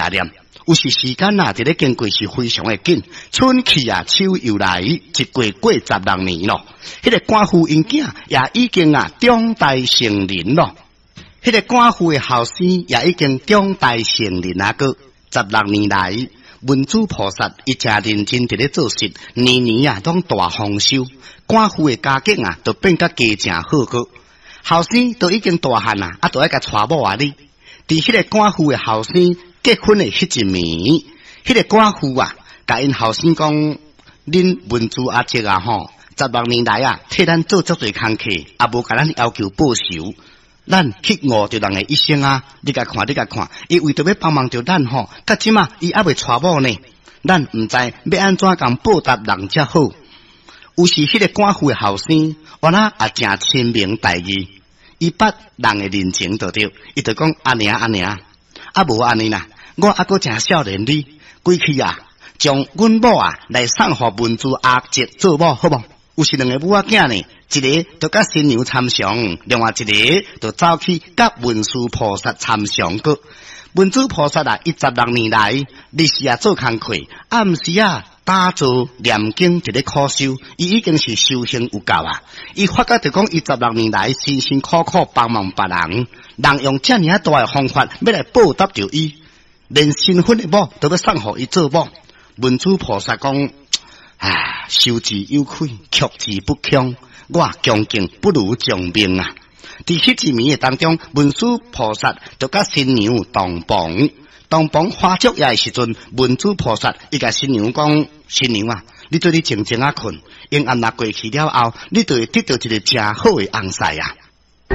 食念。有時時間啊，佇咧經過是非常的緊，春去啊，秋又來，一過過十六年咯。彼個寡婦𪜶囝也已經啊長大成人咯。彼個寡婦的後生也已經長大成人啊閣十六年來，文殊菩薩伊誠認真佇咧做事，年年啊攏大豐收。寡婦的家境啊，就變甲加誠好閣。後生都已經大漢啊，啊，就愛共娶某啊哩。佇彼個寡婦的後生結婚的彼一暝，彼個寡婦啊，共𪜶後生講：恁文殊阿叔啊吼，十六年來啊，替咱做足濟工課，也無共咱要求報酬。咱去誤著人的一生啊！你共看，你共看，伊為著欲幫忙著咱吼，到這馬伊猶未娶某呢。咱毋知欲按怎共報答人才好。有時彼個寡婦的後生，原來也誠深明大義，伊捌人的人情就對，伊就講阿娘阿娘，啊無按呢啦，我猶閣誠少年哩，歸去啊，將阮某啊來送予文殊阿叔做某好無？有時兩个母仔囝呢，一个就佮新娘參詳，另外一个就走去佮文殊菩薩參詳閣。文殊菩薩啊，伊十六年來日時啊做工課，暗時啊打坐念經，佇咧苦修，伊已經是修行有夠啊！伊發覺著講，伊十六年來辛辛苦苦幫忙別人，人用遮爾仔大的方法欲來報答著伊，連新婚的某都欲送予伊做某。文殊菩薩講：啊，受之有愧，卻之不恭。我恭敬不如從命啊！佇彼一暝的當中，文殊菩薩就佮新娘洞房，洞房花燭夜的時陣，文殊菩薩伊共新娘講：新娘啊，你對你靜靜仔睏，黑暗若過去了後，你就會得著一个誠好的翁婿啊！